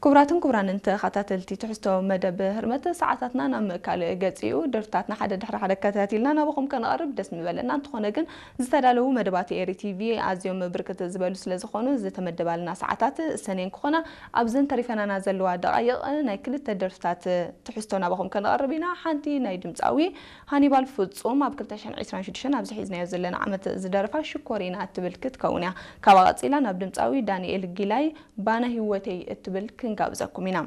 ክቡራትን ክቡራንን ተኸታተልቲ ትሕዝቶ መደብ ህርመት፣ ሰዓታትና ናብ ምእካል ገጺኡ። ደርፍታትና ሓደ ድሕሪ ሓደ ከታቲልና ናባኹም ከነቐርብ ደስ ምበለና። እንተኾነ ግን ዝተዳለዉ መደባት ኤሪ ቲቪ ኣዝዮም ብርክት ዝበሉ ስለ ዝኾኑ ዝተመደባልና ሰዓታት ሰኔን ክኾና ኣብዘን ተሪፈናና ዘለዋ ደቓይቕ ናይ ክልተ ደርፍታት ትሕዝቶ ናባኹም ከነቐርብ ኢና። ሓንቲ ናይ ድምፃዊ ሃኒባል ፍጹም ኣብ ክልተ ሽሕን ዕስራን ሽዱሽተን ኣብዚ ሒዝናዮ ዘለና ዓመት ዝደረፋ ሽኮሪና እትብል ክትከውን እያ። ካብኣ ቀጺላ ናብ ድምፃዊ ዳንኤል ጊላይ ባና ህይወተይ እትብል ክንጋብዘኩም ኢና።